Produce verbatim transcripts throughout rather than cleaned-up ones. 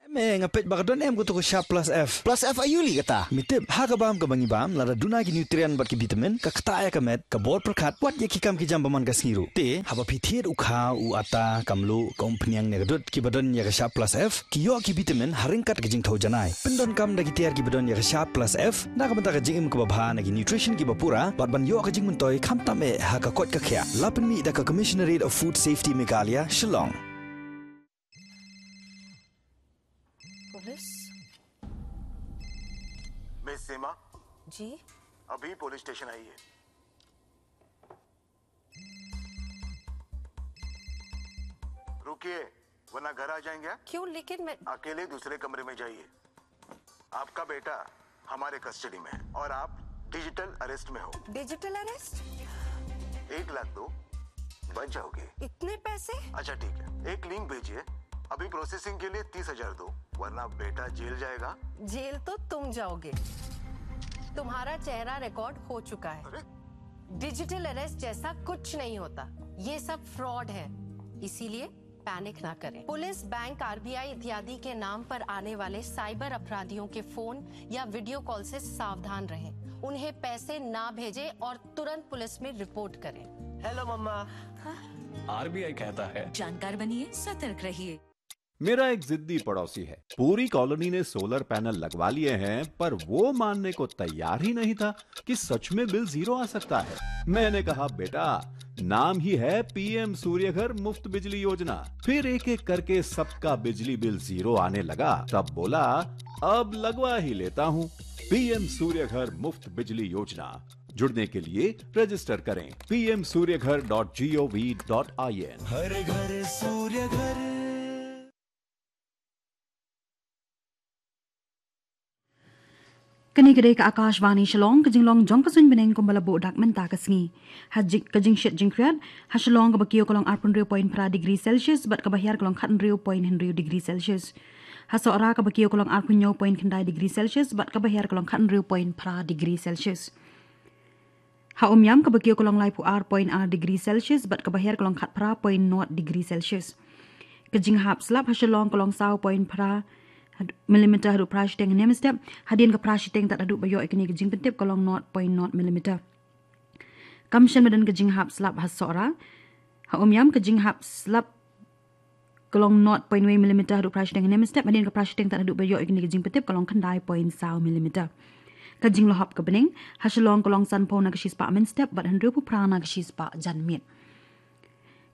Me nga peit ba ka don em kato ka Sharp Plus F. Plus F aïu lei kata? Me tip, ha ka bam kaba ngi bam, lada duna ki nutrient bad ki vitamin, ka ktah ïa ka met, ka bor pyrkhat, wat ïa ki kam ki jam ba man ka sngi ruh. Te, haba phi thied u khaw, u atta, ka mluh, ka umphniang ne ka dud, kiba don ïa ka Sharp Plus F, ki ïoh ki vitamin, ha ryngkat ka jingthew janai. Pyndonkam da ki tiar kiba don ïa ka Sharp Plus F, na ka bynta ka jingim kaba bha na ki nutrition kiba pura, bad ban ïoh ka jingmyntoi, khamtam eh, ha ka koit ka khiah. La pynmih da ka Commissionerate of Food Safety Meghalaya, Shillong. Police? Miss Seema, ji? अभी police station आइए। रुकिए, वरना घर आ जाएंगे। क्यों, लेकिन मैं अकेले दूसरे कमरे में जाइए। आपका बेटा हमारे कस्टडी में है और आप डिजिटल अरेस्ट में हो। Digital arrest? एक लाख दो, बच जाओगे। इतने पैसे? अच्छा ठीक है, एक लिंक भेजिए। अभी प्रोसेसिंग के लिए तीस हजार दो, वरना बेटा जेल जाएगा। जेल तो तुम जाओगे। तुम्हारा चेहरा रिकॉर्ड हो चुका है। अरे, डिजिटल अरेस्ट जैसा कुछ नहीं होता। ये सब फ्रॉड है, इसीलिए पैनिक ना करें। पुलिस, बैंक, आरबीआई इत्यादि के नाम पर आने वाले साइबर अपराधियों के फोन या वीडियो कॉल से सावधान रहें। उन्हें पैसे ना भेजें और तुरंत पुलिस में रिपोर्ट करें। हेलो मम्मा। आरबीआई कहता है, जानकार बनिए, सतर्क रहिए। मेरा एक जिद्दी पड़ोसी है। पूरी कॉलोनी ने सोलर पैनल लगवा लिए हैं, पर वो मानने को तैयार ही नहीं था कि सच में बिल जीरो आ सकता है। मैंने कहा, बेटा, नाम ही है पीएम सूर्यघर मुफ्त बिजली योजना। फिर एक एक करके सबका बिजली बिल जीरो आने लगा, तब बोला, अब लगवा ही लेता हूँ। पीएम सूर्यघर मुफ्त बिजली योजना। जुड़ने के लिए रजिस्टर करें PM Suryaghar dot GOV dot IN. हर घर सूर्य घर। Kane ka dei ka Akashvani Shillong, ka jinglong jong ka suiñ bneng kumba la buh dak mynta ka sngi. Ha jing, ka jingshit jingkhriat, ha Shillong kaba kiew ka long arphew hynriew point phra degree Celsius, bad kaba hiar ka long khathynriew point hynriew degree Celsius. Ha Sohra kaba kiew ka long arphew hynñiew point khyndai degree Celsius, bad kaba hiar ka long khathynriew point phra degree Celsius. Ha Umiam kaba kiew ka long laiphew ar point ar degree Celsius, bad kaba hiar ka long khatphra point nod degree Celsius. Ka jinghap slap ha Shillong ka long saw point phra had-, millimeter haduh phra shiteng hynne mynstep, hadien ka phra shiteng tad haduh ba ïoh ïa kane ka jingpyntip ka long nod point nod millimeter. Kam shen madan ka jinghap slap ha Sohra, ha Umiam ka jinghap slap ka long nod point wei millimeter haduh phra shiteng hynne mynstep, hadien ka phra shiteng tad haduh ba ïoh ïa kane ka jingpyntip ka long khyndai point saw millimeter. Ka jinglehop ka bneng ha Shillong ka long sanphew na ka shispah mynstep bad hynriewphew phra na ka shispah janmiet.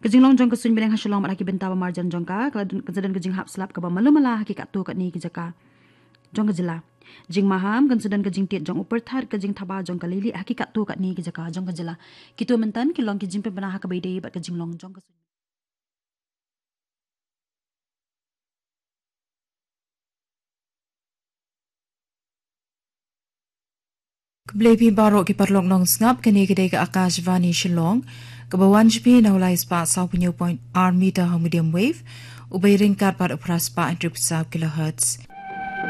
Ka jinglong jong ka suiñ bneng ha Shillong bad ha ki bynta ba marjan jong ka, ka la don, ka la don ka jinghap slap kaba malu mala ha ki katto katne ki jaka jong ka jylla. Jingmaham, kan sa don ka jingtied jong u pyrthat, ka jingthaba jong ka leilieh ha ki katto katne ki jaka jong ka jylla. Kito mynta ki long ki jingpynbna ha kaba ïadei bad ka jinglong jong ka suiñ. Khublei phi baroh ki paralok nongsngap, kane ka dei ka Akashvani Shillong, kaba wan sha phi na u lai spah sawphew hynñiew point ar meter ha u medium wave, u bai ryngkat bad u phra spah hynriewphew saw kilohertz.